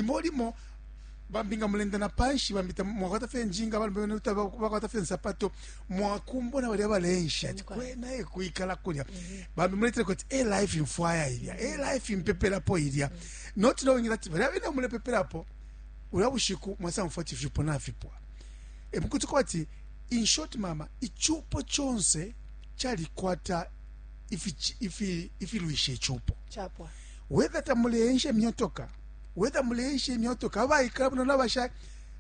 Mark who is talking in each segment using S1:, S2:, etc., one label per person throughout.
S1: Limo limo bambi nga mulenda na panshi, bambi mwakwata fye njinga, bambi bakwata fye nsapato, mwakumbona balya baleensha ati kwena e kwikala kulya. Bambi muletele kuti e life mfwaya ilya, e life mpepelapo ilya, not knowing that balya bene mulepepelapo ulya bushiku mwasamfwa ati ifyupo nafipwa. E mukuti kwati, in short, mama, icupo conse calikwata ifilwisha icupo.
S2: Chapwa.
S1: Whether tamuleensha imyotoka, whether muleensha imyotoka, abaikala buno nabasha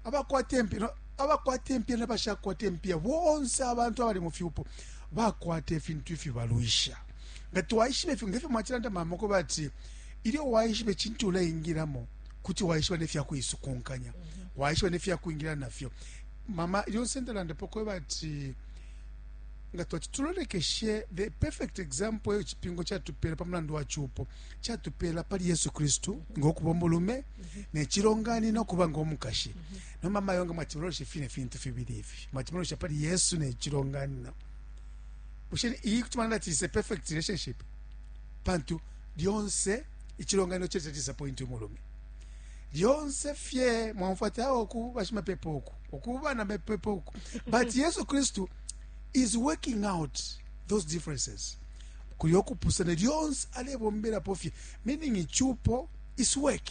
S1: abakwata impiya, no, abakwata impiya nabashakwata impiya, bonse abantu abali mu fyupo bakwata ifintu ifibalwisha. Nga twaishiba ifyo, ngefyo mwacilanda, mama, ko bati ilyo waishiba icintu uleingilamo, kuti waishiba nefya kuisukunkanya, waishiba nefya kwingila nafyo. Mama, lyonse ndalandapo kweba ati nga twati tulolekeshe the perfect example eyo cipingo catupela pa mulandu wa cupo, catupela pali Yesu Kristu ngokuba umulume ne cilonganino kuba ngo mukashi. No mama yonga mwatimuloleshe fine fintu fibili ifi, mwatimulolesha pali Yesu ne cilonganino. Bushe iyi kuti mwalanda ati is a perfect relationship? Pantu lyonse icilonganino cece disappoint umulume lyonse fye. Mwamfwa ati awo ku bashimapepo uku, ukuba na mapepo uku, but Yesu Kristu is working out those differences. Kuli okupusana lyonse alebombelapo fye, meaning icupo is work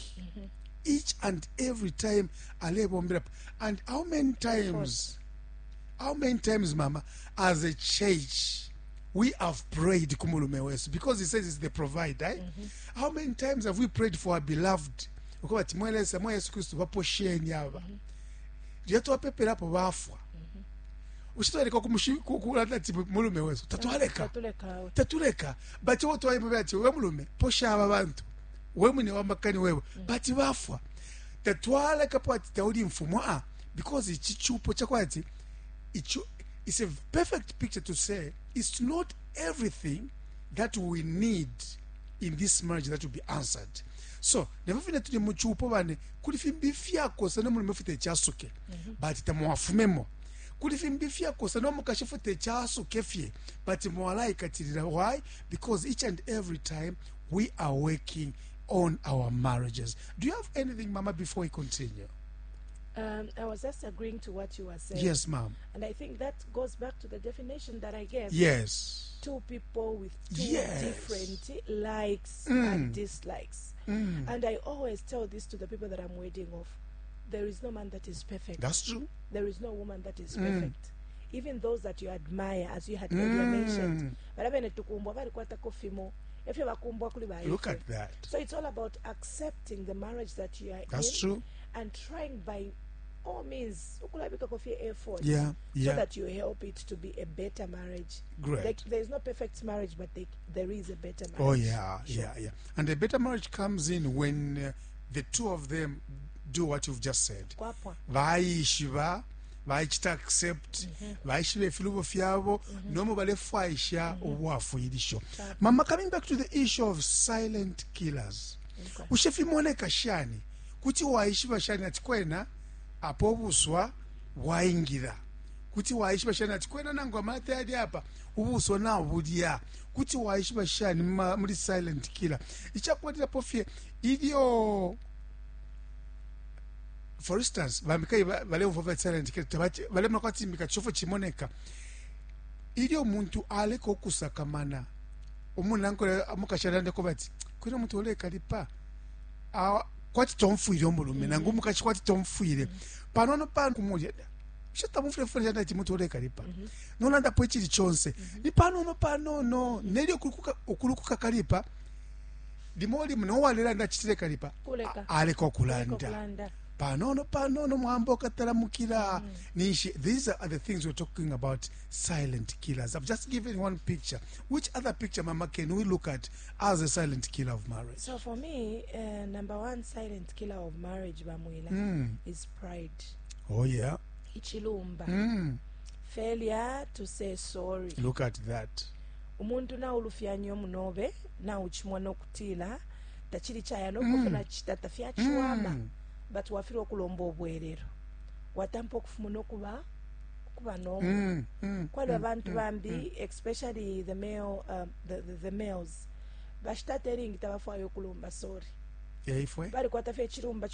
S1: each and every time alebombelapo. And how many times, how many times, mama, as a church we have prayed ku mulume wesu, because he says he's the provider, eh? How many times have we prayed for our beloved ukuba ati, mwe Lesa, mwe Yesu Kristu, baposheni aba? Lyo twapepelapo bafwa, ushe twaleka kulanda ati mulume wesu? Tatwaleka.
S2: Tatuleka.
S1: Tatuleka, but wo twaimube ati, we mulume, posha aba bantu, we mwine wa makani wewe, but bafwa, tatwalekapo ati tauli mfumu. Ah, because ichi chupo chakwati icho it's a perfect picture to say it's not everything that we need in this marriage that will be answered. So nefyo fine tuli muchupo bane, kuli fimbi fyakosa no mulume fute chasuke, but tamwafumemo. Kuli fimbi fyakosa no mukashi fute chasuke fye, but mwalaikatilila. Why? Because each and every time we are working on our marriages. Do you have anything, mama, before we continue?
S2: I was just agreeing to what you were saying.
S1: Yes, ma'am.
S2: And I think that goes back to the definition that I gave. Two people with two different likes and dislikes. And I always tell this to the people that I'm wedding off. There is no man that is perfect.
S1: That's true.
S2: There is no woman that is perfect. Even those that you admire, as you had earlier mentioned. Balabene tukumbwa balikwatako fimo. Efyo bakumbwa kuli ba
S1: Look
S2: ife.
S1: at that.
S2: So it's all about accepting the marriage that you are
S1: That's
S2: in
S1: true.
S2: and trying by all means ukulabikako fye effort so that you help it to be a better marriage.
S1: Great.
S2: Like, there is no perfect marriage, but there is a better marriage.
S1: Oh yeah. And the better marriage comes in when the two of them do what you've just said.
S2: Kwapwa.
S1: Vaishiba vaichita accept, vaishiba ifilubo fyabo, nomo balefwaisha ubwafwilisho. Mama, coming back to the issue of silent killers, ushe fimoneka shani? Kuti waishiba shani ati kwena apo ubuswa bwaingira? Kuti waishiba shani ati kwena nangu amata yali apa, ubuswa nabulya? Kuti waishiba shani muli silent killer? Ichakwatirapo fye ilyo, for instance, bambikai baleumva va silent killer, balemona kwati mbika chofo chimoneka ilyo umuntu aleka okusakamana umunankole mukashalandeko bati kwina umuntu olekalipa. Ah, kwati tomfwile umulume nangu umukashi, kwati tomfwile panono pano kumulya shatamufwile fwile shanda ati muntu olekalipa, nolandapo ichili chonse ni panono panono, nelyo ukulukuka kalipa limo limo nowalelanda achitile kalipa.
S2: Kuleka.
S1: Aleka okulanda.
S2: Kulanda.
S1: Panono panono mwamba okatalamukira ninshi. These are the things we're talking about, silent killers. I've just given one picture. Which other picture, mama, can we look at as a silent killer of marriage?
S2: So for me, number one silent killer of marriage, Bamwila, is pride. Ichilumba. Failure to say sorry.
S1: Look at that.
S2: Umuntu naulufyanya umunobe, nauchimwa nokutila tachili chaya nokufuna chita tafyachiwama, but wafilwa okulomba obwerero, watampa okufuma nokuba kuba nomu kwali abantu bambi, especially the male, the males bashitata elingi tabafwayo okulomba sorry.
S1: Yaifwe.
S2: Balikwata fye echilumba.